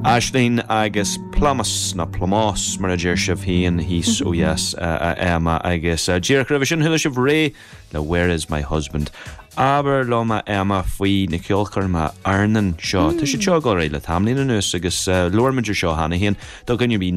Aisling agus Plámás, nó Plámás mar a deir sibh féin thíos ó dheas, a Emma, agus díreach roimhe sin chuala sibh Ré le Where Is My Husband. Abair liom a Emma faoi na ceolchoirmeacha airneáin seo. Tá siad seo ag dul ar aghaidh le tamaillín anuas agus labhair muid ar seo cheana féin do dhuine ar bith.